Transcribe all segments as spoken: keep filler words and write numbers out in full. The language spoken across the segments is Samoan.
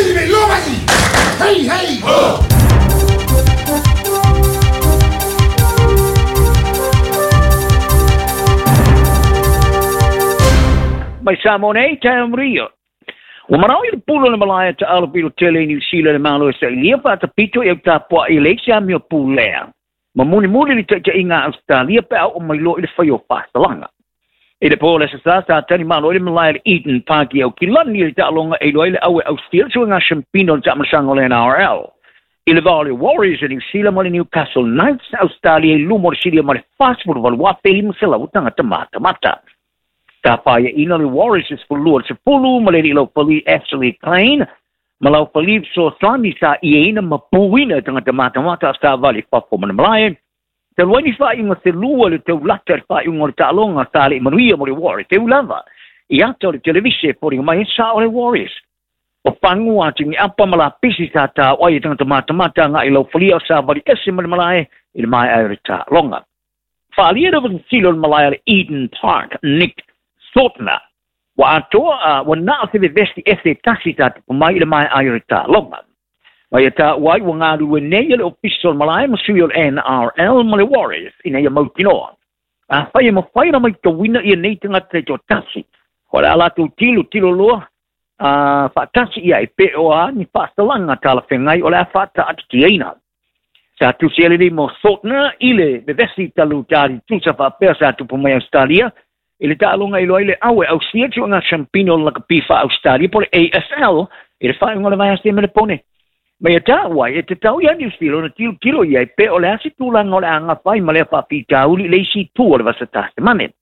Hey, hey! Oh! Mai Samoa nei, tae Rio. Ua marau i le pula le malaia ta alo pilo tele i New Zealand le malo e sa ilia whaatapito i au tāpua i le isi amio pulea. Ma muni muli li taita inga Australia pe au o mai loa i le whai o whāsalanga. I le pō le sasa sa tani malo i le malaia le Eden Park i au kilani i le taaloga e iloa i le aue Australia sua ngā shampino le taamasaga o le N R L. I le vao le Warriors i New Zealand ma le Newcastle Knights Australia i lumo le silia ma le whasipuru walu wapeli maselau tangata mata mata. Ta whaia ina le Warriors is fulua se pulu ma le lau pali Ashley Klein ma lau pali so sani sa ia ma puina tangata mata mata sa vali fafo mana malaia. Te luaini whainga te lua le te ulata le whainga le taaloga sa le manuia mo le Warriors. Te ulava i ata o le televise poringa mai sa o le Warriors. O pangu a tingi apa ma la pisi sa tā wai tangata mata mata ngā i lau pali o sa vali ese ma le malaia i le mai ai le taaloga. Whaalia le silo le malaia le Eden Park, Nick Sotna. Wa atoa, wa naa se vesti ese tasi tā te pumai i le mai ai le taaloga. Mai e tā wai wa ngā rue nei le official malaia ma sui o le N R L ma le Warriors i nei a mautinoa. A whai e mawhai na mai tawina i nei tangata te tō tasi. Ko le ala tō tilo tilo loa, a whaatasi ia e pe o a ni whaasalanga tāla whengai o le a whaata atitiaina. Sa tusi ele mo Sotna i le vevesi talu tāri tusa whaapea sa tupu mai Australia. I le taaloga i loa i le aue au sia tio ngā champino la kapifa Australia po le A F L i le whainga le vai ase me le pone. Mai e tā wai, e te tau ia New Zealand, na tilo tilo ia e pe o le asi tūlanga o le anga whai ma le whapitauli le isi tū o le vasa tāste mane.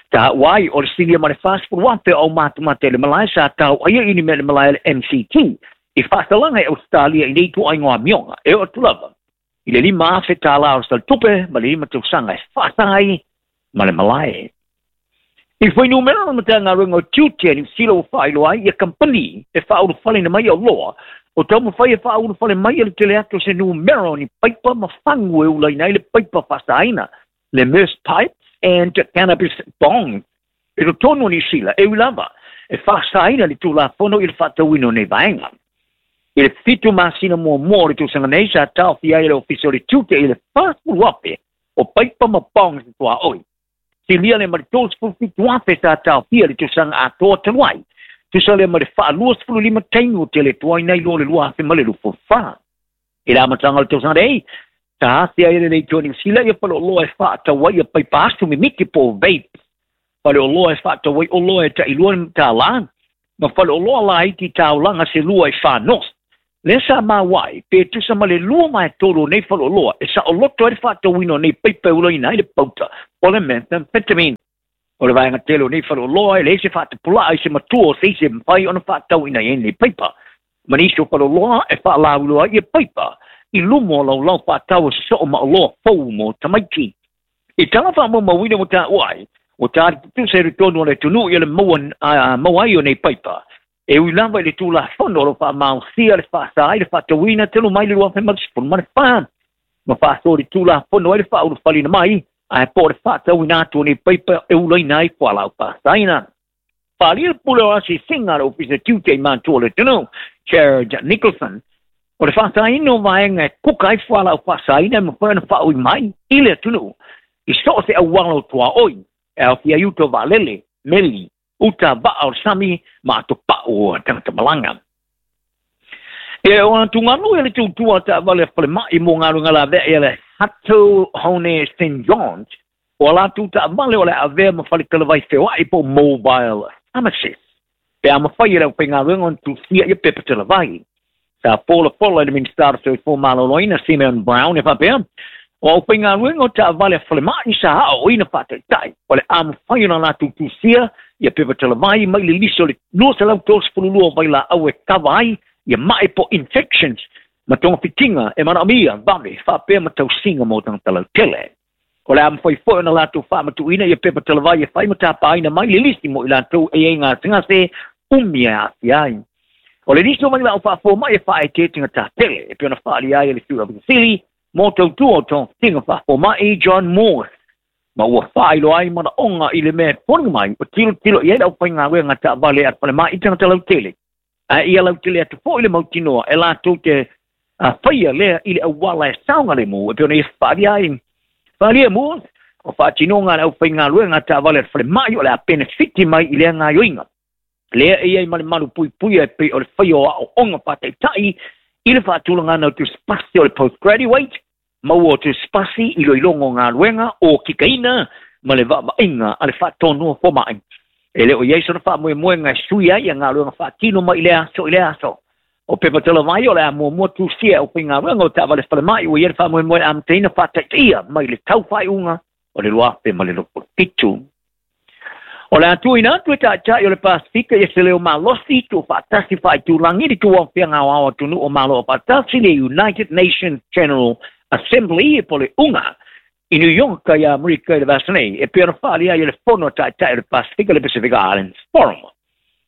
Tā wai o le silia ma le fast food wape o mātumate le malai sa tau aia ini me le malai le M C T. I whaasalanga e Australia i nei tū ai ngā mionga, e o tulava. I le lima afe tā lao sa tupe ma le lima tausaga e whaasangai ma le malai. I whai numera na matea ngā runga o tiute ni sila o whailo ai ia kampani e whauru whale na mai o loa. O tau mawhai e whauru whale mai e le tele atu se numero ni paipa ma whangu e ula ina i le paipa whasaina. Le Merce Pipes and Cannabis Bong. E to tono ni sila e ulava e whasaina le tūla fono i le whatawino nei vaenga. I le fitu masina mua mua le tūsanga nei sa tau fia i le ofisa o le tiute i le whasuru ape o paipa ma bong se tua oi. Silia le mari tōs fufitu ape sa tau fia le tūsanga atoa taluai. Tusa le mari whaalua sefulu lima taimi o tele tuai nei loa le lua afe ma le lufu wha. I la matanga le tausaga nei, ta hasia i le nei tuani sila ia palo loa e whaatawai a paipa asu mimiti po vape. Palo loa e whaatawai o loa e ta ilua ta lan. Ma palo loa la iti taulanga se lua e whanos. Le sa mawai, pe tusa ma le lua mai toro nei palo loa e sa o loto e whaatawino nei paipa ula ina i le pauta. O le methamphetamine. O le vaenga tele o nei whaloloa e le ese whaatapula ai se matua o se ise mwhai ona whaatau ina e nei paipa. Manisi o whaloloa e whaalauloa i e paipa. I lumo o lau lau whaatau o soo ma oloa fau mo tamaiti. I tanga wha mawina mo tā uai, o tā tusa e tonu o le tunu i le maua ai o nei paipa. E uilava i le tūla whono o lo whaamausia le whaasa ai le whaatawina telu mai le lua whemarisipun ma le whaan. Ma whaasori le tūla whono ai le whaurufalina mai, ai po le whaatau ina atu nei paipa e ula ina i whalau whaasaina. Whaalia pule o asi singa le ofisa tiute i mātua le tunu, Jared Nicholson. O le whaasaina o vaenga e kuka i whalau whaasaina e mawhai na whaui mai i le tunu. I so se awalo tua oi, e au fia uto valele, meli, uta vaa o sami, ma ato pau o tangata malanga. E o ana tunganu e le tūtua ta vale whale mai mō ngā runga la vea e le Hato Hone Saint John's. O ala tūta vale o le avea ma whale kalavai whewai po mobile pharmacist. Pe a mawhai e leo pe ngā runga on tūthia i pepa te lavai. Sa Paula Paula le Minister o Soifua Maloloina Simeon Brown e whapea. O au pe ngā runga o ta vale whale mai sa hao o ina whātaitai. O le a mawhai o na la tūthia i pepa te lavai mai le liso le nusa lau tōs pululua vai la au e kawa ai ia mai po infections ma tonga fitinga e mana mia vave whapea ma tausinga mō tangata lau tele. O le a mwhai foe na lātou whaamatuina ia pepa talavai e whai ma tāpāina mai le lisi mo i lātou e e ngā tingase umia e āwhi ai. O le lisi o mai lau whaafo mai e whae te tinga tā tele e pena whaali ai e le tua Vasili mō tautua o tō tinga whaafo mai John Moore. Ma ua whailo ai mana onga i le mea poninga mai o tilo tilo i e lau whai ngā wea ngā tā vale at whale mai i tangata lau tele. A ia lau tele atu foi le mautinoa e latou te faia lea i le auala e saogalemu e pei ona ia faaalia ai. Faaalia mua o faatinoga a le aufaigaluega taavale a le falemai o le a penefiti mai i lea gaioiga. Lea e iai ma le malu puipuia e pei o le faia o aoaoga faataitai i le faatulagana o tusipasi o le postgraduate, maua o tusipasi i loiloga o galuega o kikaina ma le vaavaaiga a le faatonuo foma'i. E le o iai sona faamoemoega e sui ai ia galuega faatino mai i lea aso i lea aso. O pepa talavai o le a muamua tusia e aufaigaluega o taavale falemai ua iai le faamoemoe e amataina faataitaia mai le tau faaiuga o le luafe ma le luafitu. O le a tuuina atu e taitai o le Pasifika ia se leo malosi tuufaatasi faaitulagi le tuuaofiaga aoao atunuu o Malo Afaatasi le United Nations General Assembly po o le UNGA i New York ia Amerika i le vasa nei e pei ona faaalia ai e le fono a taitai o le Pasifika le Pacific Islands Forum.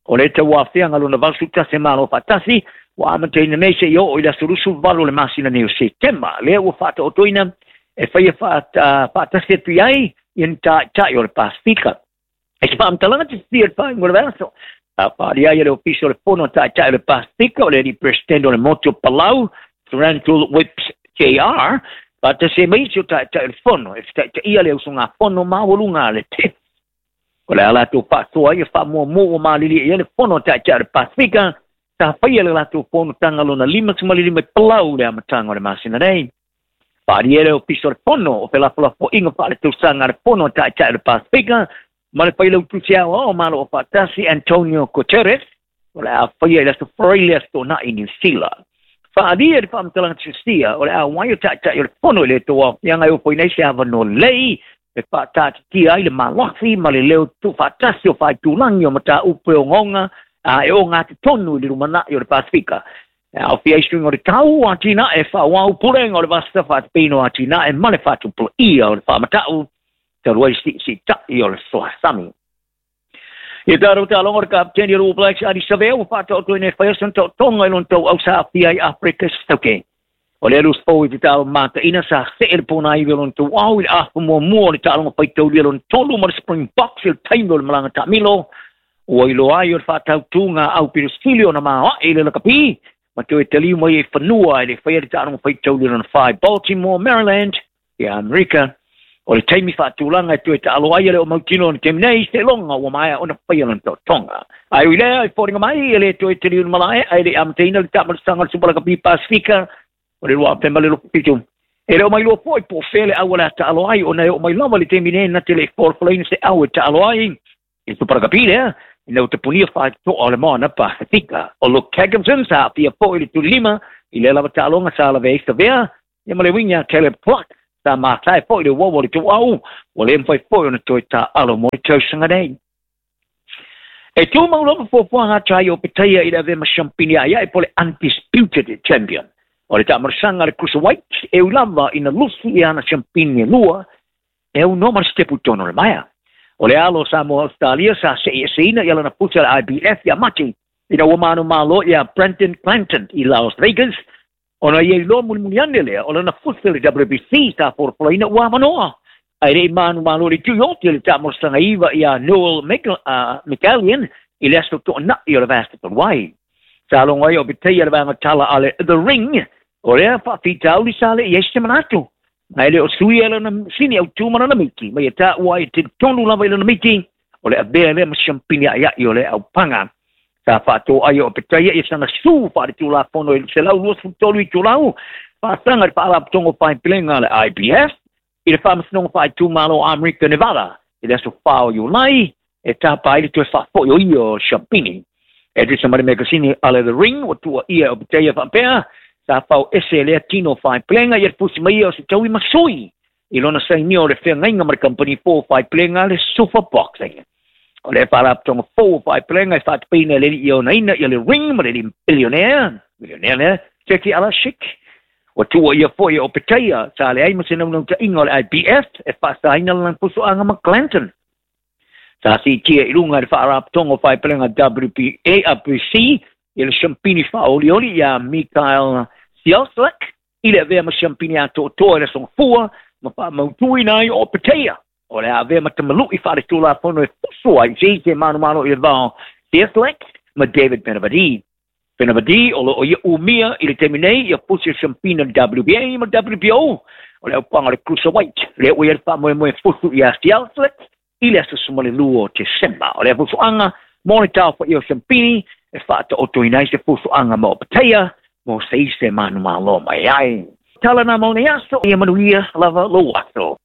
O le tauaofiaga lona valusiulu tasi Malo Afaatasi ua amataina nei seia oo i le aso luasuluvalu o le masina nei o Setema. Lea ua faataotoina e faia faatasi atu i ai ia ni taitai o le Pasifika. E se faamatalaga tisisia i le faaiuga o le vaiaso a faaalia ai e le Ofisa o le Fono a Taitai o le Pasifika o le alii Peresetene o le Motu o Palau Randall Whips J R faatasi ai ma isi o taitai o le Fono e fetaitaia le usugafono maualuga a le T I F. O le a latou faasoa ai e faamuamua ua malilie i ai le Fono a Taitai o le Pasifika sa faia le latou fonotaga lona lima lima i Palau le amataga o le masina nei. Faaalia le Ofisa o le Fono o felafolafoaiga faaletausaga a le Fono a Taitai o le Pasifika ma le failautusi aoao o Malo Afaatasi Antonio Guterres o le a faia i le aso Faraile aso Toonai i Niu Sila. Faaalia le faamatalaga tusia o le auai o taitai o le fono i le tauaofiaga e ofoina ai se avanoa lelei e faataatitia ai le malosi ma le leo tuufaatasi o faaitulagi o mataupu e ogaoga a e ogatotonu i le lumanai o le Pasifika. E aofia ai suiga o le tau atinae faaauau pulega o le vasa faatapino atinae ma le faatupulaia o le faamatau talu ai siisiita'i o le soasami. Ia tatou taaloga o le kapeteni o le All Blacks Ardie Savea ua faataotoina e faia sona taotoga i lona tauau sa aafia ai Afrika Sautake. O le alu fou i te taalo mataina sa see le pōnaivi o lona tauau i le afa muamua o le taaloga faitaulia lona tolu ma le Springboks i le taimi o le malaga taamilo. Ua iloa ai o le faatautuga a aupilosili ona maoae i le lakapi ma toe taliu mai ai fanua e le faia le taaloga faitaulia lona fa i Baltimore, Maryland, ia Amerika. O le taimi faatulaga e toe taalo ai e le o mautino o le taimi nei, seiloga ua maea ona faia lona taotoga. Ae ui lea, e foliga mai e le toe taliu le malae, ae le i amataina le taamalasaga o le Supalakapi Pasifika o le luafe ma le luafitu. E le o mai lua foi po o fea le au o le a taalo ai, ona e oo mai lava le taimi nei na te le i folafolaina se au e taalo ai i le Supalakapi lea, ina ua tapunia faatoa o le moana Pasifika. O Luke Hackinson sa aafia foi i le tulilima i lea lava taaloga sa lavea ai Savea, ia ma le uiga a Caleb Clark sa matae foi le uaua o le tuuau, ua le mafai foi ona toe taalo mo le tausaga nei. E tumau lava fuafuaga ata o Petaia i le avea ma siampini aia'i po o le undisputed champion. O le taamalasaga a le cruiserweight e ui lava ina lusi i ana siampini e lua e aunoa ma le sitepu i totonu o le maea. O le alo o Samoa Australia sa se'ieseina i alana pusa le I B F ia Mati ina ua manumalo ia Brandon Clanton i Las Vegas ona ia iloa mulimuli ane lea o lana fusa le W B C sa folafolaina ua avanoa. Ae le'i manumalo le tuioti o le taamalasaga iva ia Noel Mikaelian i le aso to'ana'i o le vasa talu ai. Sa logo ai o Petaia le vaega tala a le The Ring o lea faafitauli sa le'i ai se manatu. Ae le o sui e lana sini autū ma lana miti, mai e tāua ai e talitonu lava i lana miti, o le avea lea ma siampini aia'i o le aupaga. Sa faatoai o Petaia ia sana su faaletulafono i le selau luasefulu tolu itulau, faasaga i le faalapotoga o faaipelega a le I B F, i le faamasinoga faaitumalo o Amerika Nevada, i le aso fa o Iulai, e tapa ai le toe faafo'i o ia o siampini. E tusa ma le megasini a le The Ring, ua tuuaia o Petaia faapea, sa fao ese lea tino faaipelega ia le fusi mai ia o se taui masui i lona sainia o le feagaiga ma le kampani fou faaipelega le Super Boxing. O le faalapotoga fou faaipelega e faatapeina e le alii onaina ia le Ring ma le alii billionaire, millionaire lea, Turki Alalshikh. Ua tuuaia foi o Petaia sa leai ma se naunautaiga o le I B F e faasaina lana pusoaga ma Clanton. Sa siitia i luga i le faalapotoga o faaipelega W B A B C i le siampini faaolioli ia Mikael Cieslak i le avea ma siampini atoatoa i le aso Gafua ma faamautuina ai o Petaia. O le avea ma tamalu'i faaletulafono e fusu ai se isi e manumalo i le vao Cieslak ma David Benavidez. Fenavadi o loo ia umia i le taimi nei ia pusi o siampina W B A ma W B O o le aupanga le Cruiserweight le ua ia le faamoemoe fusu ia Sialslet i le aso sefulumalua o Tesema. O le fusuaga mo le taofaia o siampini e faataotoina ai se fusuaga ma opateia mo se ise manumalo mai ai. Tala na mo le aso ia manuia lava lou aso.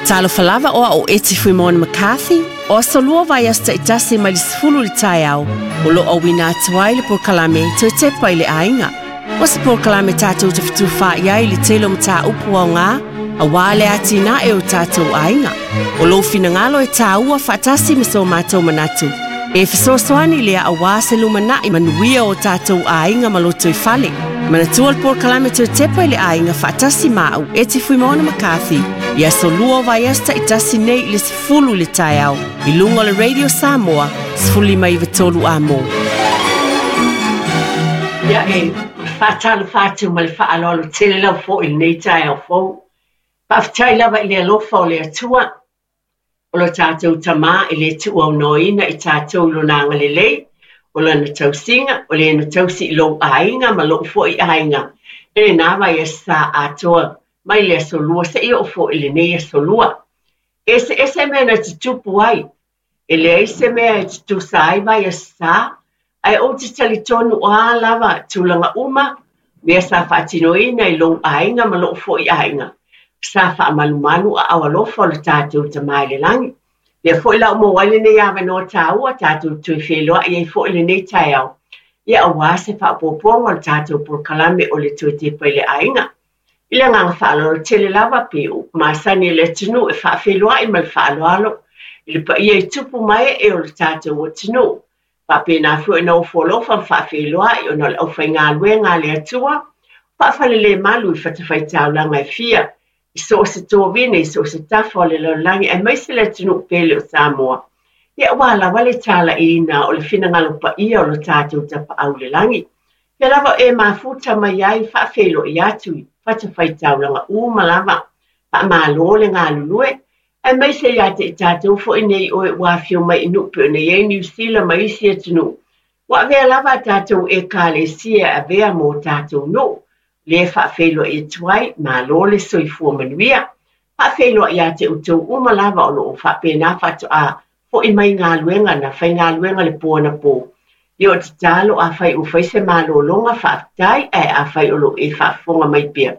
Talofa lava oa o Eti Fuimona McCarthy, o aso lua vai aso taitasi mai le sefulu le taeao, o loo auina atu ai le polokalame Toe Tepa i le Aiga. O se polokalame tatou te fetufaai ai le tele o mataupu aoga, auā le atinae o tatou aiga. O lou finagalo e tāua faatasi ma so matou manatu. E fesoasoani lea auā se lumanai manuia o tatou aiga ma loto i fale. Manatua le polokalame Toe Tepa i le Aiga faatasi ma au Eti Fuimona McCarthy i aso lua o vaiaso taitasi nei i le sefulu i le taeao i luga o le Radio Samoa sefululima iva tolu amo. Ia e faatalofa atu ma le faaaloalo tele lau fo'i i lenei taeao fou. Faafetai lava i le alofa o le Atua, o lo tatou tamā i le tuuaunoaina i tatou i lona agalelei, o lana tausiga, o le na tausi i lou aiga ma lou fo'i aiga. E lenā vai aso atoa mai le aso lua seia oo fo'i i lenei aso lua. Eseese mea na tutupu ai, e leai se mea e tutusa ai vai aso ae ou te talitonu o a lava tulaga uma, mea sa faatinoina i lou aiga ma lou fo'i aiga. Sa faamalumalu aao alofa o le tatou tamā i le lagi. Lea fo'i la o maua ai lenei avanoa tāua tatou toe feiloai ai fo'i lenei taeao. Ia auā se faaopoopoga o le tatou polokalame o le Toe Tepa i le Aiga. I le agaga faaaloalo tele lava pe upu masani e le atunuu e faafeiloai ma le faaaloalo i le paia i tupu mae e o le tatou atunuu. Faapena foi ona ofo alofa ma faafeiloai ona o le aufaigaluega a le Atua, faafalelemalu i fatafaitaulaga e fia, i so o se tovine, i so o se tafa o le lalolagi, aemaise le atunuu pele o Samoa. Ia auā lava le talaiina o le finagalo paia o lo tatou tapaau i le lagi. Ia lava e mafuta mai ai faafeiloai atu i fatafaitaulaga uma lava, faamalo le galulue, aemaise ia te i tatou fo'i nei oe ua afio mai i nuu pei ona i ai Niu Sila ma isi atunuu. Ua avea lava a tatou ekalesia e avea mo tatou nuu. Le faafeiloai atu ai, malo le soifua manuia. Faafeiloai ia te outou uma lava o loo faapena faatoa fo'i mai galuega na faigaluega le po anapo. Ia o tatalo afai ua fai se malologa faafetai, ae afai o loo e faafofoga mai pea.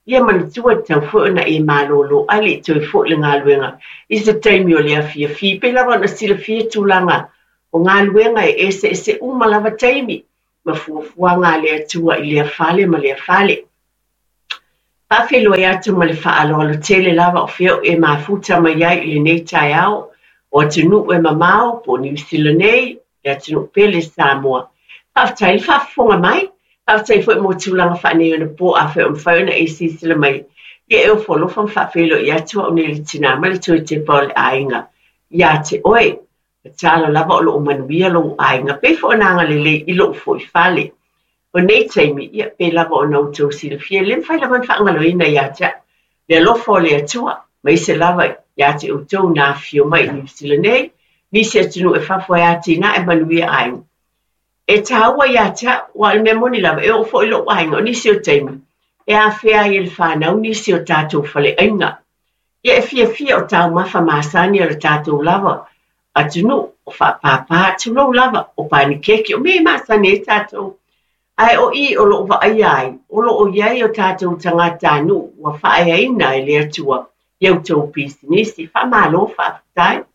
Ia manatua tatau foi ona e malolo ai le i toe fo'i le galuega i se taimi o le afiafi. Pei lava ona silafia tulaga o galuega e eseese uma lava taimi ma fuafuaga a le Atua i lea fale ma lea fale. Faafeiloai atu ma le faaaloalo tele lava o fea o e mafuta mai ai i lenei taeao o atunuu e mamao po o Niu Sila nei, le atunuu pele Samoa. Faafetai le faafofoga mai, faafetai foi mo tulaga faaneionapo afai o mafai ona e silasila mai. Ia e ofo alofa ma faafeiloai atu au nei le tinā ma le Toe Tepa o le Aiga ia te oe. Tatalo lava o loo manuia lou aiga, pei foi ona agalelei i lou fo'i fale. O nei taimi, ia pei lava ona outou silafia, le mafai lava ona faagaloina ia te au le alofa o le Atua, maise lava ia te outou na afio mai i Niu Sila nei, nisi atunuu e fafo ai atinae manuia aiga. E tāua ia te au, aua o le mea moni lava, e oo foi lou aiga o nisi o taimi, e afea ai e le fanau nisi o tatou faleaiga. Ia e fiafia o taumafa masani o le tatou lava atunuu, o faapāpā tulou lava, o panikeke, o mea e masani ai tatou. Ae o i o loo vaaia ai, o loo iai o tatou tagatanuu ua faaeaina e le Atua i outou pisinisi, faamalo faafetai,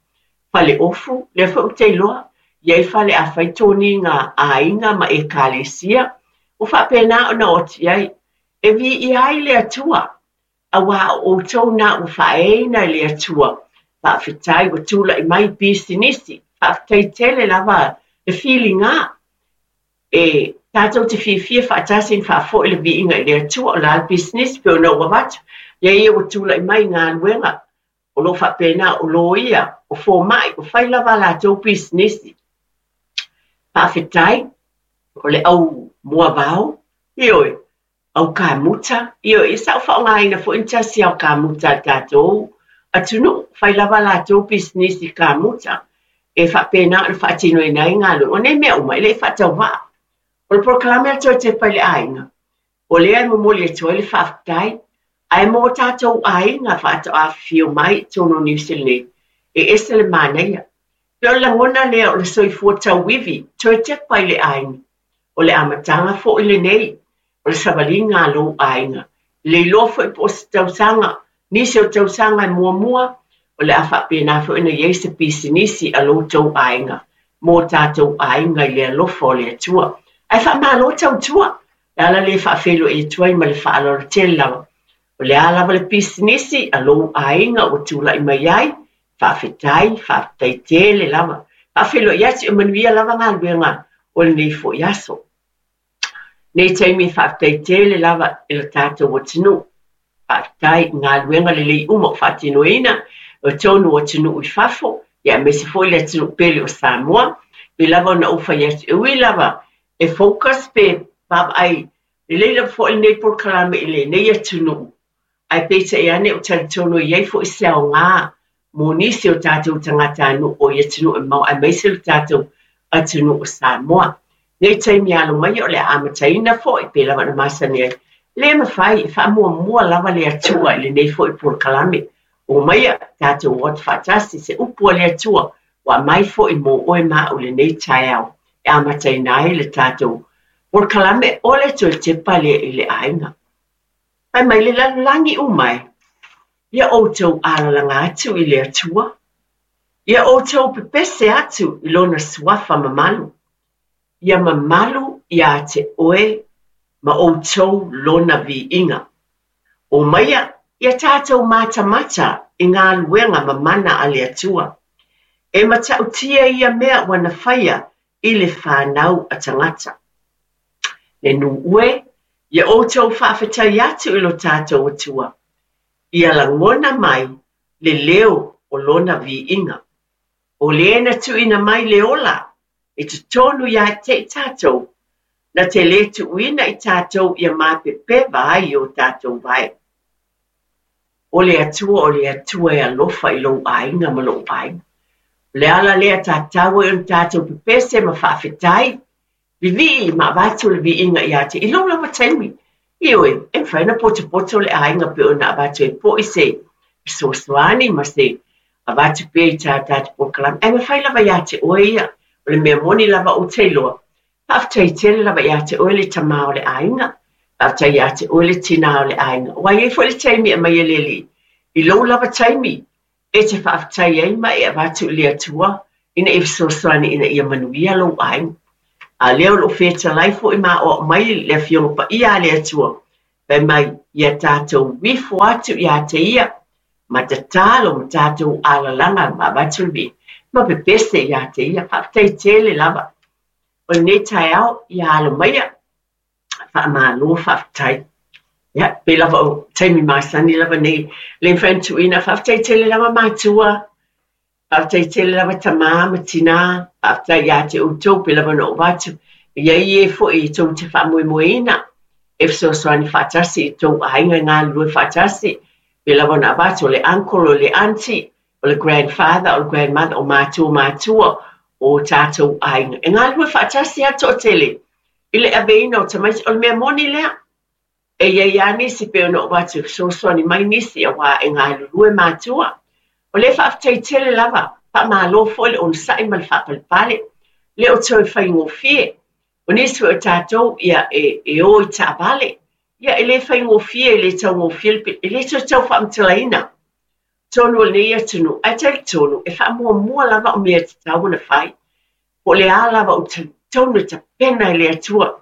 fale ofu, lea foi ou te iloa, iai fale afai toniga aiga ma ekalesia, ua faapena ona oti ai, e viia ai le Atua, auā o outou na ua faaeaina e le Atua. Faafetai ua tula'i mai pisinisi, faafetai tele lava le filiga. E tatou te fiafia faatasi na faafo'i le viiga i le Atua o la le pisinisi pei ona ou avatu, ia ia ua tula'i mai galuega o loo faapena o loia, o foma'i, o fai lava a latou pisinisi. Faafetai o le au moavao, ioe, au kamuta, ioe, ia sa ou faaaogaina foi ni tasi ao kamuta a tatou atunuu fai lava latou pisinisi kamuta e faapena ona faatinoina ai galuega. O nei mea uma e le i faatauvaa. O le polokalame a le Toe Tepa i le Aiga, o lea e momoli atu ai le faafetai, ae mo tatou aiga faatoafifio mai i totonu o Niu Sila nei, e ese le manaia. Pe o le lagona lea o le soifua tauivi, toe tepa i le aiga. O le amataga foi lenei, o le savaliga a lou aiga. Le iloa foi po o se tausaga, nisi o tausaga e muamua, o le a faapena foi ona i ai se pisinisi a lo outou aiga, mo tatou aiga i le alofa o le Atua. Ae faamalo tautua, le ala lea e faafeiloai atu ai ma le faaaloalo tele lava. O le a lava le pisinisi a lou aiga ua tulai mai ai, faafetai, faafetai tele lava. Faafeiloai atu e manuia lava galuega o lenei foi aso. Nei taimi faafetai tele lava i le tatou atunuu. Faafetai i galuega lelei uma o faatinoina o tonu o atunuu i fafo, ia aemaise foi le atunuu pele o Samoa. Pei lava ona ou fai atu, e ui lava e focus pe vaavaai lelei lava foi lenei polokalame i lenei atunuu, ae peitai ane o talitonu e i ai foi se aoga mo nisi o tatou tagatanuu o i atunuu e mamao, aemaise le tatou atunuu o Samoa. Nei taimi alo mai o le a amataina foi pei lava ona masani ai. Le mafai e faamuamua lava le Atua i lenei foi polokalame. O maia tatou o atu faatasi se upu a le Atua ua aumai foi mo oe ma au i lenei taeao e amataina ai le tatou polokalame o le Toe Tepa lea i le Aiga. Fai mai le lalolagi uma e, ia outou alalaga atu i le Atua, ia outou pepese atu i lona suafa mamalu, ia mamalu ia te oe ma outou lona viiga. O maia, ia tatou matamata i galuega mamana a le Atua. E matautia ia mea ua na faia i le fanau a tagata. Le nuu e, ia outou faafetai atu i lo tatou Atua. Ia lagona mai le leo o lona viiga. O le na tuuina mai le ola e totonu ia te i tatou, na te le tuuina i tatou ia mapepeva ai o tatou vae. O le Atua, o le Atua e alofa i lou aiga ma lou aiga. O le ala lea tatau ai ona tatou pepese ma faafetai, vivii ma avatu le viiga ia te i lou lava taimi. Ioe, e mafai ona potopoto le aiga pe ona avatu e po'i se fesoasoani ma se avatu pea i tā tatou polokalame. Ae mafai lava ia te oe ia, o le mea moni lava ou te iloa. Faafetai tele lava ia te oe le tamā o le aiga, faafetai ia te oe le tinā o le aiga. Ua i ai foi le taimi e aumai e le Alii, i lou lava taimi e te faafetai ai ma e avatu i le Atua ina ia fesoasoani ina ia manuia lou aiga. A lea o loo fetalai foi ma aoao mai le Afioga Paia a le Atua, fai mai ia tatou ifo atu ia te ia, ma tatalo ma tatou alalaga ma avatu le viiga, ma pepese ia te ia. Faafetai tele lava. O lenei taeao ia alo maia, faamalo faafetai. Ia, pei lava o taimi masani lava nei, le mafai ona tuuina, faafetai tele lava matua, faafetai tele lava tamā ma tinā, faafetai ia te outou pei lava ona ou avatu. E i ai e foi e tou te faamoemoeina, e fesoasoani faatasi i tou aiga e galulue faatasi, pei lava ona avatu o le uncle, o le auntie, o le grandfather, o le grandmother, o matua matua, o tatou aiga. E galulue faatasi lava toatele i le aveina o tamaiti, o le mea moni lea. E i ai lava nisi pei ona ou avatu e fesoasoani mai nisi auā e galulue matua. O le faafetai tele lava, faamalo foi le onosai ma le faapalepale. Le o toe faigofie. O nisi foi o tatou ia e, e o i taavale. Ia e le faigofie, e le taugofie, e le toe tau faamatalaina. Tonu o lenei atunuu, ae talitonu e faamuamua lava o mea tatau ona fai. Po o le a lava o talitonu e tapena e le Atua.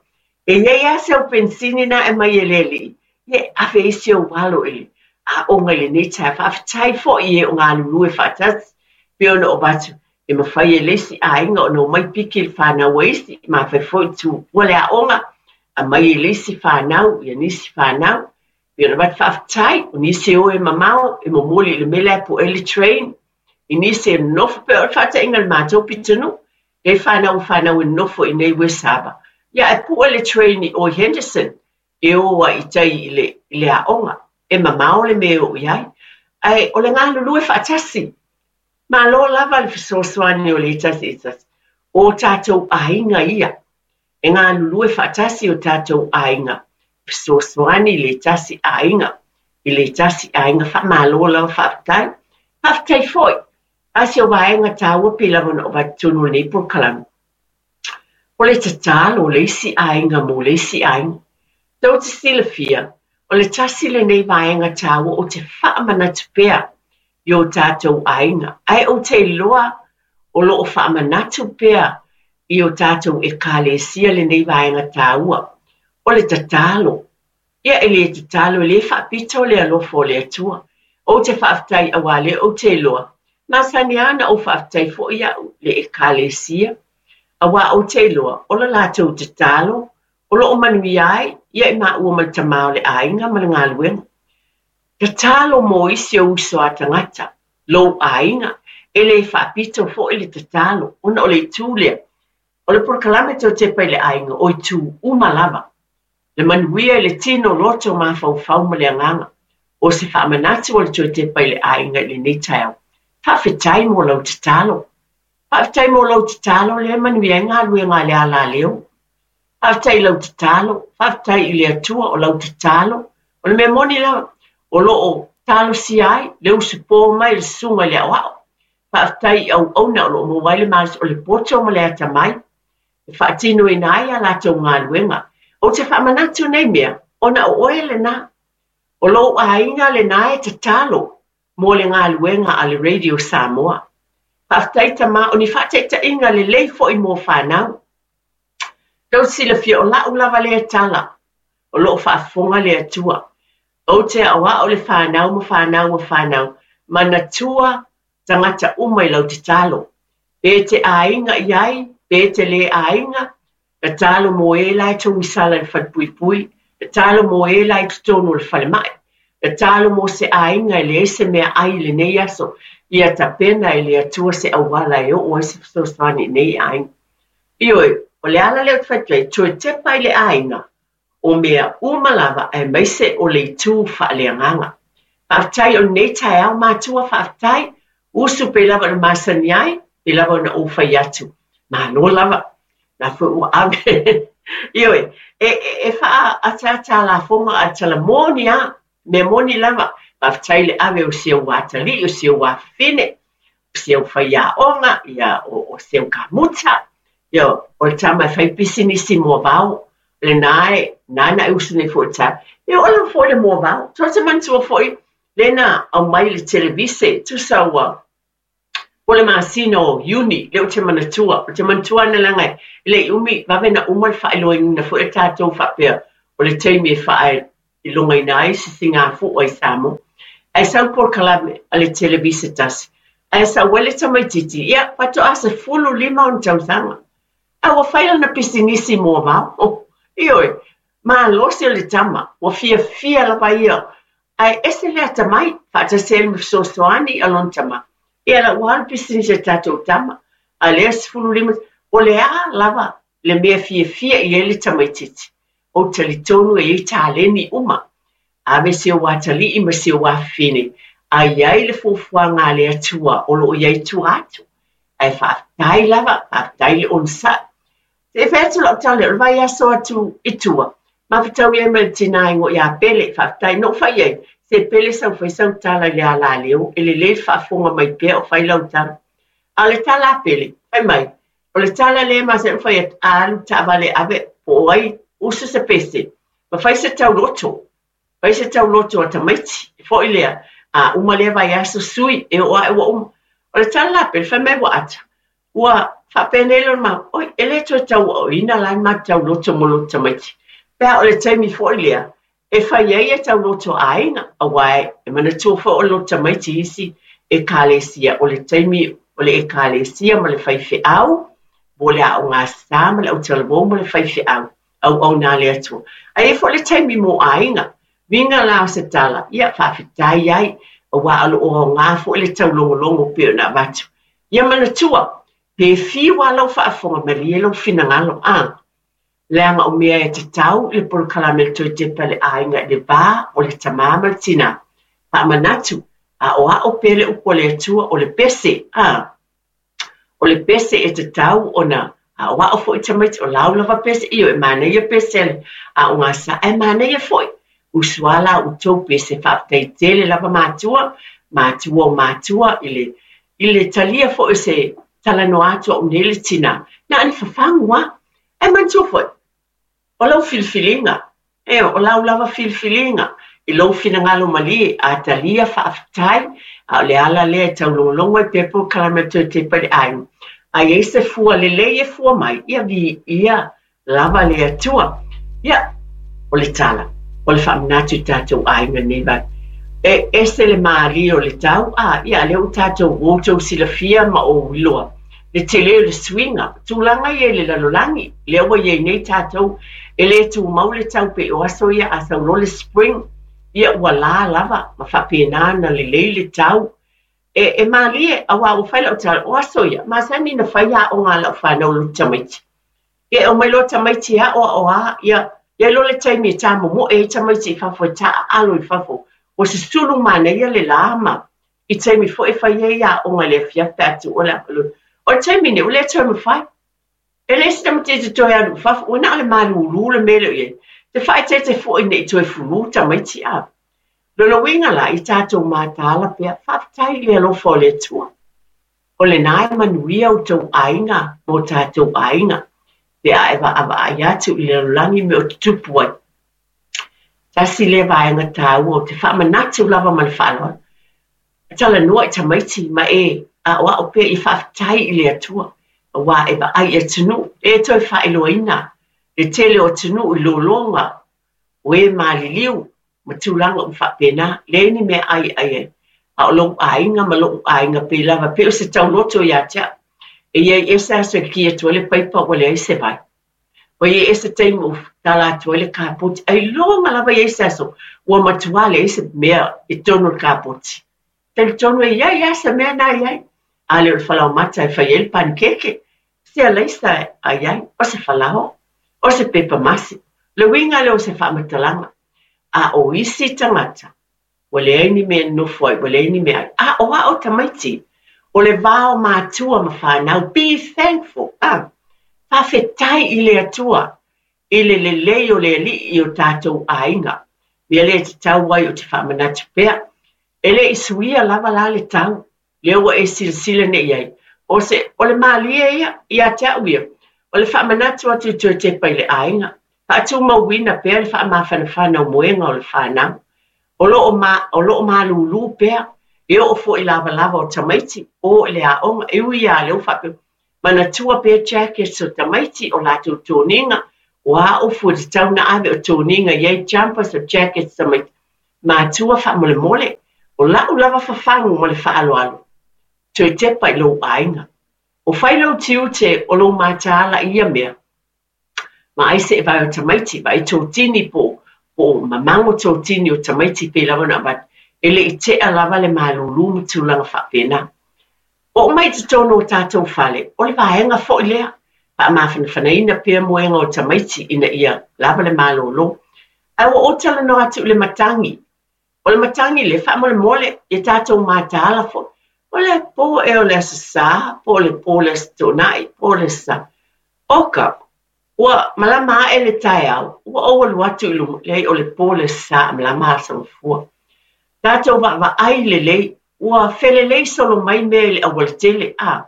E i ai lava se au penisini na e aumai e le Alii, ia e ave ai si ou alo i le aoga i lenei taeao. Faafetai foi i e o galulue faatasi, pei ona ou avatu e mafai e le isi aiga ona omai piki i le fanau a isi, mafai foi tuupua le aoga, aumai e le isi fanau, ia nisi fanau. Pei ona avatu faafetai, o nisi e o e mamao, e momoli i le mea lea po o le train, i nisi e nonofo pei o le faataitaiga i le matou pitonuu, e fanau fanau e nonofo i nei West Harbour. Ia e pue le train i o i Henderson, e o ai i tai i le, i le aoga. E mamao le mea o i ai. Ae o le galulue faatasi. Malo lava le fesoasoani o le tasi i tasi. O tātou aiga ia. E galulue faatasi o tātou aiga. Fesoasoani i le tasi aiga. I le tasi aiga faamalo lava faafetai. Faafetai foi. A se o vaega tāua pe lava na o vatonu lenei polokalame. O le tatalo o le isi aiga mo le isi aiga. Tou te silafia, o le tasi lenei vaega tāua o te faamanatu pea i o tātou aiga. Ae ou te iloa o loo faamanatu pea i o tātou ekalesia lenei vaega tāua. O le tatalo. Ia e le tatalo e le faapito le alofa o le Atua. Ou te faafetai auā lea ou te iloa. Masani ana ou faafetai foi au le ekalesia. Auā ou te iloa, o le latou tatalo, o loo manuia ai, ia i maua ma le tamā o le aiga ma le galuega. Tatalo mo isi o uso a tagata, lou aiga, e le faapito foi le tatalo, ona o le itu lea. O le polokalame Toe Tepa i le Aiga, o itu uma lava. Le manuia i le tino loto mafaufau ma le agaga. O se faamanatu o le Toe Tepa i le Aiga i lenei taeao. Faafetai mo lau tatalo. Faafetai mo lau tatalo lea manuia ai galuega a le alaleo. Faafetai i lau tatalo, faafetai i le Atua o lau tatalo. O le mea moni lava, o loo talosia ai le usupo mai le susuga i le aoao. Faafetai i auauna o loo maua ai le malosi o le poto ma le atamai. E faatinoina ai a latou galuega. Ou te faamanatu nei mea, ona o oe lenā. O lou aiga lenā e tatalo mo le galuega a le Radio Samoa. Faafetai tamā, o ni faataitaiga lelei foi mo fanau. Tou silafia o lau lava lea tala, o loo faafofoga le Atua. Ou te aoao le fanau ma fanau ma fanau, manatua tagata uma i lau tatalo. Pe te aiga i ai, pe te le aiga, tatalo mo e la e togisala i le falepuipui, tatalo mo e la i totonu o le falemai, tatalo mo se aiga e leai se meaai i lenei aso, ia tapena e le Atua se auala e oo ai se fesoasoani i nei aiga. Ioe, o le ala lea ou te fai atu ai, toe tepa i le aiga, o mea uma lava aemaise o le itu faaleagaga. Faafetai o lenei taeao matua, faafetai, usu pei lava ona masani ai, pei lava ona ou fai atu. Malo lava, na foi ua ave. Ioe, e, e, e faaataata lafoga a tala moni a, mea moni lava. Faafetai le ave o si ou atalii, o si ou afafine, o si ou faiaoga, ia, o, o si ou kamuta. Ia, o le tama e fai pisinisi moavao, lenā e, nāna e usu nei foi i le taeao. Ia, o lava foi le moavao. Tou te manatua foi, lena aumai i le televise, tusa ua, o le masina o Iuni, lea ou te manatua. Ou te manatua ana leaga e le i umi, vave na uma le faailoaina foi a tatou faapea, o le taimi e faailogaina ai se sigafua i Samoa. Ae sau polokalame a le televise tasi. Ae sau ai le tamaitiiti, ia, faatoa sefulu lima ona tausaga. A ua fai lana pisinisi moavao. Ioe, malosi o le tama, ua fiafia lava ia. Ae ese le atamai, faatasi ai ma fesoasoani a lona tama. Ia la ua alu pisinisi a tatou tama. A lea sefulu lima, o le a lava le mea fiafia i ai le tamaitiiti. Ou talitonu e iai taleni uma. Ave si ou atalii ma si ou afafine, a i ai le fuafuaga a le Atua o loo i ai tua atu. Ae faafetai lava, faafetai le onosai. Se i fai atu lau tala, o le vaiaso atu i tua, mafetaui ai ma le tinā i igoa ia Pele, faafetai. Na ou fai ai, se Pele sau fai sau tala i le alaleo, e lelei le faafofoga mai pea o fai lau tala. A o le tala a Pele, fai mai, o le tala lea e masani ona fai atu, a alu taavale ave, po o ai, usu se pese, ma fai se tauloto. Fai se tauloto a tamaiti, e foi lea, a uma lea vaiaso sui, e oo ae ua uma. O le tala la a Pele, fai mai ua ata. Ua faapenei lona mau, oi, e le toe tauaoina la le matou tauloto mo loto tamaiti. Pe a o le taimi foi lea, e fai ai e tauloto a aiga, auā e manatua foi o loto tamaiti isi ekalesia, o le taimi o le ekalesia ma le faifeau, mo le aoga sa ma le autalavou ma le faifeau, auauna a le Atua. Ae i ai foi le taimi mo aiga, uiga la o se tala, ia faafetai ai, auā o loo aoga foi le taulogologo pei ona avatu. Ia manatua, pe fiu lava lau faafofoga malie lou finagalo, a leaga o mea e tatau i le polokalame le Toe Tepa i le Aiga i le va o le tamā ma le tinā. Faamanatu, Aʻoaʻo pea le upu a le Atua o le pese, a o le pese e tatau ona aʻoaʻo foʻi tamaiti o lau lava pese io e manaia pese a le aoga sa ae manaia foʻi usuala outou pese faafetai tele lava matua matua o matua i le i le talia foʻi o se talanoa atu a'u nei le tinā na o ni fafagu a ae manatua foʻi o lau filifiliga e o lau lava filifiliga i lou finagalo malie a talia faafetai a o le ala lea e taulogologo ai pea polokalame o toe tepa i le aiga a iai se fua lelei e fua mai ia viia lava le Atua. Ia o le tala o le faamanatu i tatou aiga nei vai e ese le malie o le tau a ia lea ua tatou ua outou silafia ma ou iloa le tele o le suiga tulaga ia i le lalolagi lea ua iai nei tatou e lē tumau le tau pei o aso ia a sau loa le spring ia ua lā lava ma faapena ona lelei le tau e, e malie auā ua fai lau tala o aso ia masani na fai aoga a lau fanau loto tamaiti ia e omai loa tamaiti e aʻoaʻoā ia ia loa le taimi e tamomoe ai tamaiti i fafo e taaalo i fafo ua susulu manaia le lā ma i taimi foi e fai ai aoga i le afiafi pe a tuua le afalua o le taimi nei ua le toe mafai e leai se tamaitiiti toe alu i fafo ua na o le malūlū le mea lea o i ai te faaeteete foi nei toe fulū tamaiti a lona uiga la i tatou mataala pea faafetai i le alofa o le Atua o lenā e manuia outou aiga ma o tatou aiga pe a e vaavaai atu i le lalolagi me o tutupu ai. Tasi lea vaega tāua o te faamanatu lava ma le faaaloalo. Talanoa i tamaiti ma e aʻoaʻo pea i faafetai i le Atua auā e vaai i atunuu e toe faailoaina le tele o atunuu i lologa o e maliliu ma tulaga uma faapena leai ni mea ai e ai ai a o lou aiga ma loʻu aiga pei lava pei o se tauloto iā te a'u e iai ese aso e ki atu ai le paipa ua leai se vai ua iai ese taimi ua tala atu ai le kapoti ailoga lava iai se aso ua matuā leai se mea i totonu o le kapoti talitonu e iai lava se mea na iai a le o le falaomata e fai ai le panikeke se alaisa ai ai o se falaoa o se pepa masi le uiga lea o se faamatalaga a o isi tagata ua leai ni mea e nonofo ai ua leai ni mea ai aʻoaʻo tamaiti o le va o matua ma fanau be thankful ah faafetai i le Atua i le lelei o le Alii i o tatou aiga mea lea e tatau ai o te faamanatu pea e le i suia lava la le tau lea ua e silasila nei ai o se o le malie ia ia te a'u ia o le faamanatu atu i toe tepa i le aiga faatumauina pea le faamafanafana o moega o le fanau o loo ma o loo malūlū pea e oo foʻi lavalava o tamaiti o i le aoga e ui iā lea ua faapea manatua pea jackets o tamaiti o latou toniga o a ufu e tatau ona ave o toniga i ai jumpers o jackets tamaiti matua faamolemole o la'u lava fafagu ma le faaaloalo toe tepa i lou aiga o fai lou tiute o lou mataala i ia mea ma ai seʻe vae o tamaiti vaai totini po po o mamago totini o tamaiti pei lava ona avatu e le i tea lava le malūlū ma tulaga faapena oo mai i totonu o tatou fale o le vaega foʻi lea faamafanafanaina pea moega o tamaiti ina ia lava le malōlō ae ua ou talanoa atu i le matagi o le matagi le faamolemole ia tatou mataala foʻi o le pō ea o le aso Sā po o le pō o le aso Toonai po o le aso Sa oka ua malama aʻe le taeao ua ou alu atu i luma leai o le pō le aso Sa malama aso gafua tatou vaavaai lelei ua felelei solo mai mea i le aualatele a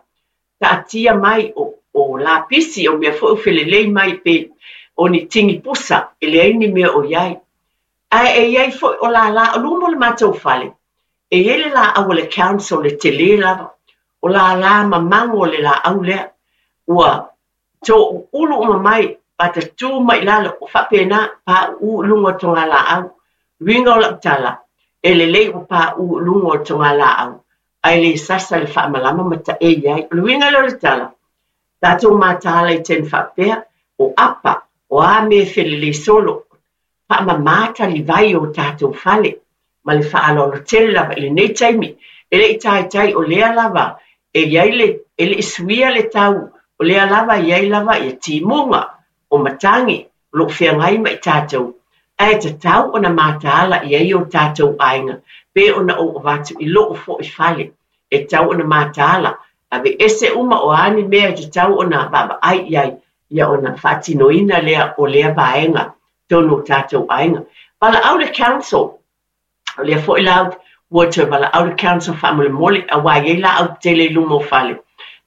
taatia mai o, o lapisi o mea foi ua felelei mai pe o ni tigi pusa e leai ni mea o iai ae e iai foi o lālā o luma o le matou fale e iai le laau a le council e telē lava o lālā mamago o le laau lea ua toʻuulu uma mai patatū mai lalo o faapena paʻuʻu i luga o togalaau uiga o lau tala e lelei ua paʻu i luga o togalaau ae le sasa le faamalama ma taʻei ai o le uiga lea o le tala tatou mataala i taimi faapea o apa o a mea e felelei solo faamamā talivai o tatou fale ma le faaaloalo tele lava i lenei taimi e le i taitai o lea lava e iai le e le i suia le tau o lea lava e iai lava ia timuga o matagi o loo feagai ma i tatou ae tatau ona mataala i ai o tatou aiga Pe ona ou avatu i loo fo'i fale e tau ona mataala ave ese uma o ani mea e tau ona vaavaai i ai ia ona faatinoina lea o lea vaega tonu o tatou aiga. Valaau le council, o lea fo'i lau ua toe valaau le council faamolemole auā i ai laau tele i luma o fale.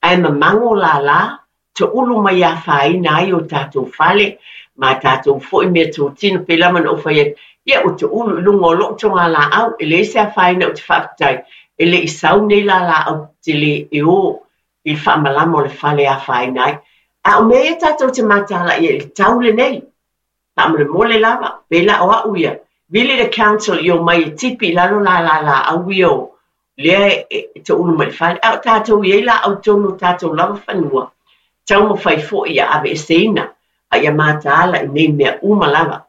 Ae mamago lālā toulu mai afaina ai o tatou fale ma tatou fo'i mea totino pe lava na ou fai atu. Ia ua toulu i luga o loo toga laau e leai se afaina ou te faafetai e le i sau nei la laau tele e o i le faamalama o le fale afaina ai. A o mea ia tatou te mataala ia i le tau lenei. Faamolemole lava, pe la o au ia. Vili le council i o mai e tipi i lalo la la laau ia o lea e, e toulu mai i le fale. A o tatou i ai laau tonu o tatou lava fanua. Taumafai fo'i ia aveeseina a ia mataala i nei mea uma lava.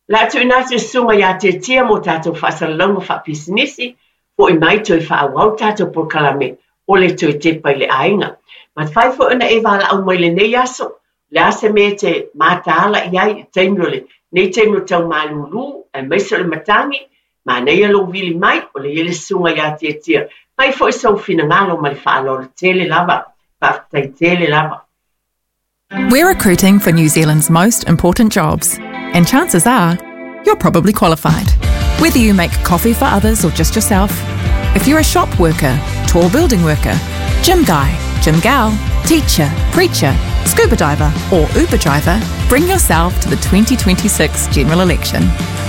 La tuuina atu i susuga iā Tiatia mo tatou faasalalauga faapisinisi, fo'i mai toe faaauau tatou polokalame o le toe tepa i le aiga. Ma fai fo'i ona e valaau mai lenei aso, le a se mea e te mataala i ai i taimi o le nei taimi o tau malūlū, aemaise o le matagi, manaia lou vili mai, o le i ai le susuga iā Tiatia. Fai fo'i sou finagalo ma le faaaloalo tele lava, faafetai tele lava. We're recruiting for New Zealand's most important jobs, and chances are you're probably qualified. Whether you make coffee for others or just yourself, if you're a shop worker, tall building worker, gym guy, gym gal, teacher, preacher, scuba diver, or Uber driver, bring yourself to the twenty twenty-six general election.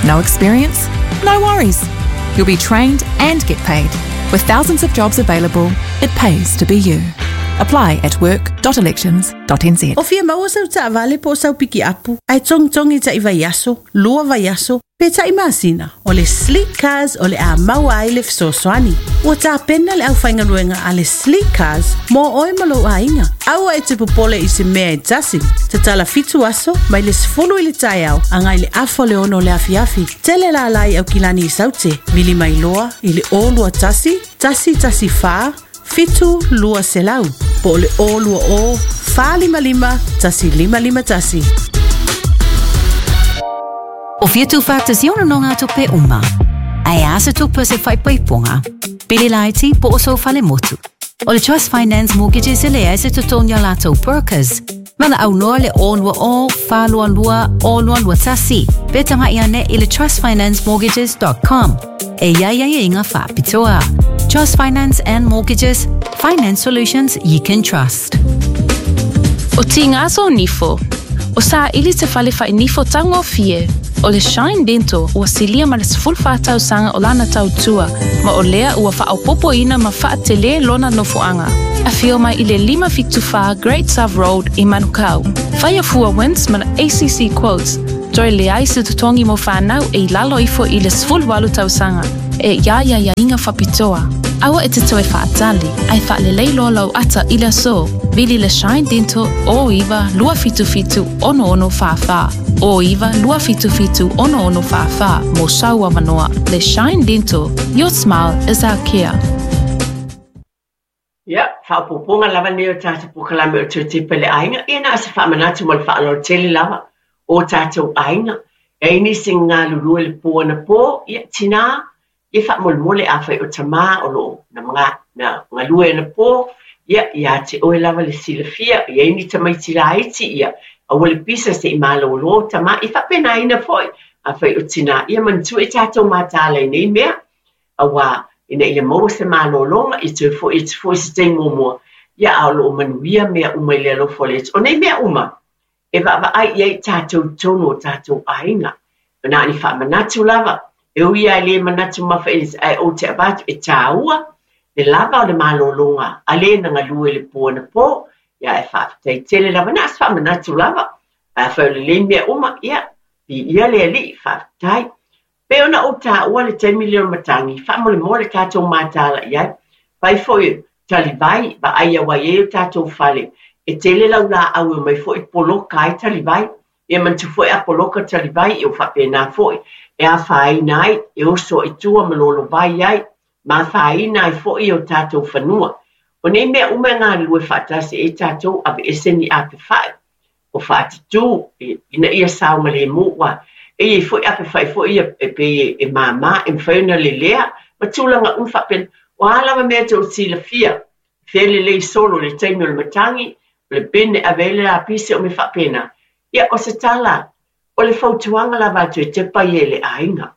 No experience? No worries. You'll be trained and get paid. With thousands of jobs available, it pays to be you. Apply at work dot elections dot n z. O fia maua sau taavale po o sau pikiapu, ae togitogi ta'i vaiaso, lua vaiaso, pe ta'i masina. O le Sleek Cars o le a maua ai le fesoasoani. Ua tapena le aufaigaluega a le Sleek Cars mo oe ma lou aiga. Aua e te popole i se mea e tasi. Tatala fitu aso mai le sefulu i le taeao agai le afa o le ono o le afiafi. Tele lālā i Aukilani i Saute. Vili mai loa i le o lua tasi, tasi tasi whā, fitu lua selau. Po o le o lua o, whā lima lima, tasi lima lima tasi. O fia tu whātasi ona no ngā tupe uma. Ai asa tupe se whaipaiponga. Pili laiti po o so whale motu. O le Trust Finance Mortgages e lea se tutonia lātou brokers. Mana au noa le o lua o, whā lua lua, o lua lua tasi. Pe tanga ia ne i le trust finance mortgages dot com. E ia ia ia inga whāpitoa. Trust Finance and Mortgages, finance solutions you can trust. O tingaso nifo. O sa ili te whale whai nifo tango fie. O le Shine Dental ua silia ma le sefulu whātau sanga o lana tautua, ma o lea ua whaopopo ina ma whaatele lona nofoanga. A whio mai i le lima fitu whā Great South Road i Manukau. Whaia fua wins ma A C C quotes. Toi le ai se tutongi mo whanau e i lalo ifo i le sefulu walu tausanga. E ia ia ia inga whapitoa. Aua e te toe whaatali, ai whaalelei loa lau ata i le so. Vili le Shine Dental o iwa lua fitu fitu ono ono wha wha. O iwa lua fitu fitu ono ono wha wha mo saua manoa. Le Shine Dental, your smile is our care. Ia, whaopoponga lava nei o tātou polokalame o toe tepa i le aiga. Ia na asa whaamanatu mo le whaaloro tele lava o tātou aiga. E ini se ngā lulua le pō na pō, ia tina, ia whaamolemole a whai o tamā o loo na mga, na ngalue na pō, ia ia te oe lava le silafia, ia ini tamaiti laiti ia, aua le pisa se i mālolo tamā, i whapena ina foi, a whai o tina, ia mantu e tātou mātāla i nei mea, aua ina ia maua se mālolonga, i te foi, i te foi se te ngomua, ia a loo manuia mea uma i le alofa o le O nei mea uma, e vaavaai i ai tātou tonu o tātou aiga. Nā ni whaamanatu lava, e ui ai le manatu mawha e ai o te avatu e tāua, le lava o le mālolonga, a le na ngalue le pō na pō, ia e whaafetai tele lava, nā se whaamanatu lava, a whai o le le mea uma, ia, i ia le ali, whaafetai. Pe ona o tāua le taimi leo matangi, whaamolemole tātou mātāla i ai, pai foi talivai, va ai awa e o tātou whale, e tele lau la au e mai foi poloka ai talivai, e mantu foi a poloka talivai, e o whapena foi, e a whaina ai, e oso i tua malolo vai ai, ma whaina ai foi o tātou whanua. O nei mea uma ngā lue whaatasi e tātou awe ese ni a te whae, o whaatitū, ina ia sao ma le mua, e i foi ape whae foi ia e pe e māmā, e mwhai ona le lea, Ma tulaga uma faapena. O a lava mea tou silafia, fea lelei solo i le taimi o le matagi, o le bin e ave ai le lapisi o mea faapena. Ia, o se tala, o le fautuaga lava a toe tepa ia i le aiga,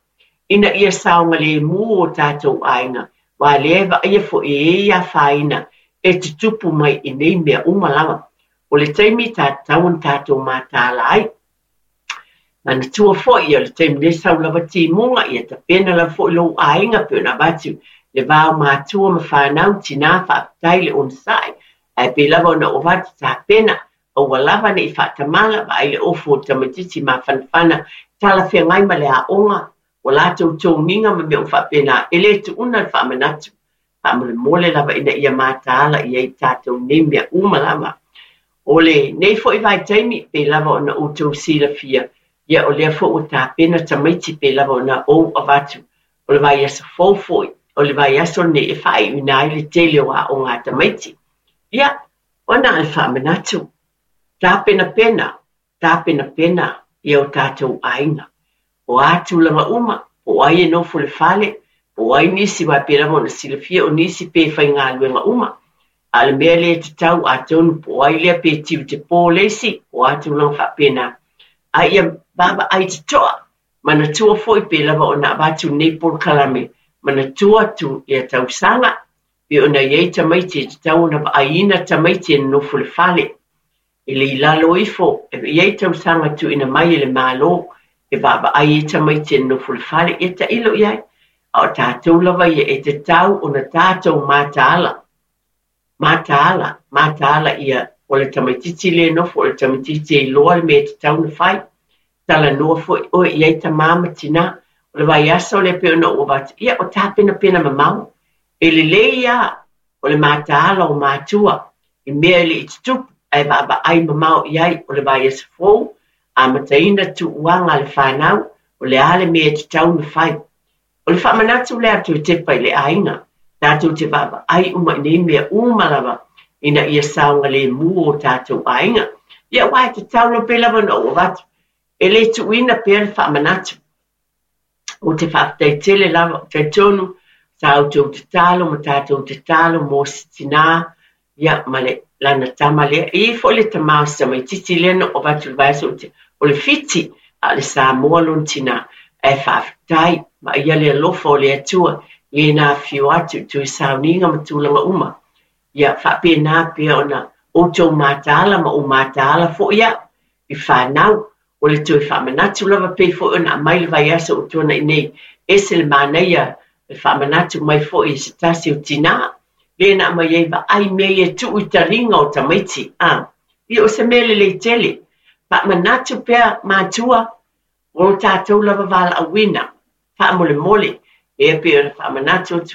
ina ia saogalemu o tatou aiga, aua lea e vaaia foi e i ai afaina e tutupu mai i nei mea uma lava. O le taimi e tatau ona tatou mataala ai. Manatua foi, ia, o le taimi nei sau lava timuga, ia tapena lava foi lou aiga pei ona avatu le va o matua ma fanau, tinā faafetai le onosai, ae pei lava ona ou avatu tapena, aua lava ne i faatamala, vaai le ofu o le tamaitiiti mafanafana, talafeagai ma le aoga, ua latou toniga ma mea uma faapena, e le tuuna le faamanatu. Faamolemole lava ina ia mataala i ai tatou nei mea uma lava. O lenei foi vaitaimi, pei lava ona outou silafia, ia o lea foi ua tapena tamaiti pei lava ona ou avatu. O le vaiaso fou foi, o le vaiaso lenei e faaiuina ai le tele o aoga a tamaiti. Ia, ua na o le faamanatu, tapenapena, tapenapena ia o tatou aiga. O a tulaga uma, po o ai e nofo i le fale, po o ai nisi, aua pei lava ona silafia o nisi pe faigaluega uma. A o le mea lea e tatau atonu po o ai lea pe tiute po le isi, o a tulaga faapena. A ia vaavaai totoa, manatua foi pei lava ona avatu lenei polokalame, manatua tu ia tausaga, pei ona i ai tamaiti e tatau ona vaaiina tamaiti e nonofo i le fale. E le i lalo ifo, e i ai tausaga tuuina mai e le Malo, e vaavaai ai tamaiti e nonofo i le fale, ia tailo i ai. A o tatou lava ia e tatau ona tatou mataala. Mataala, mataala ia o le tamaitiiti lea e nofo, o le tamaitiiti e iloa le mea e tatau ona fai. Talanoa foi oe i ai tamā ma tinā. O le vaiaso lea pei ona ou avatu, ia o tapenapena mamao. E lelei lava o le mataala o matua i mea e le i tutupu, ae vaavaai mamao i ai. O le vaiaso fou, amataina tuuaga a le fanau, o le a le mea e tatau ona fai. O le faamanatu lea a toe tepa i le aiga, tatou te vaavaai uma i nei mea uma lava, ina ia saogalemu o tatou aiga. Ia, aua e tatau lava pei lava ona ou avatu, e le tuuina pea le faamanatu. Ou te faafetai tele lava, talitonu sa outou tatalo ma tatou tatalo mo se tinā, ia, ma le lana tama lea. E i ai foi le tamā o si tamaitiiti lea na ou avatu i le vaiaso o le Fiti, a o le Samoa lona tinā. Ae faafetai, vaaia le alofa o le Atua i lena afio atu i toe sauniga ma tulaga uma. Ia faapena pea ona outou mataala ma ou mataala foi au i fanau. O le toe faamanatu lava pei foi ona aumai le vaiaso ua tuanai nei, ese le manaia le faamanatu mai foi e se tasi o tinā, lea na aumai ai vaai mea ia tuu i taliga o tamaiti. A, ia o se mea lelei tele. Faamanatu pea matua, o lo tatou lava valaauina, faamolemole, lea pei ona faamanatu atu.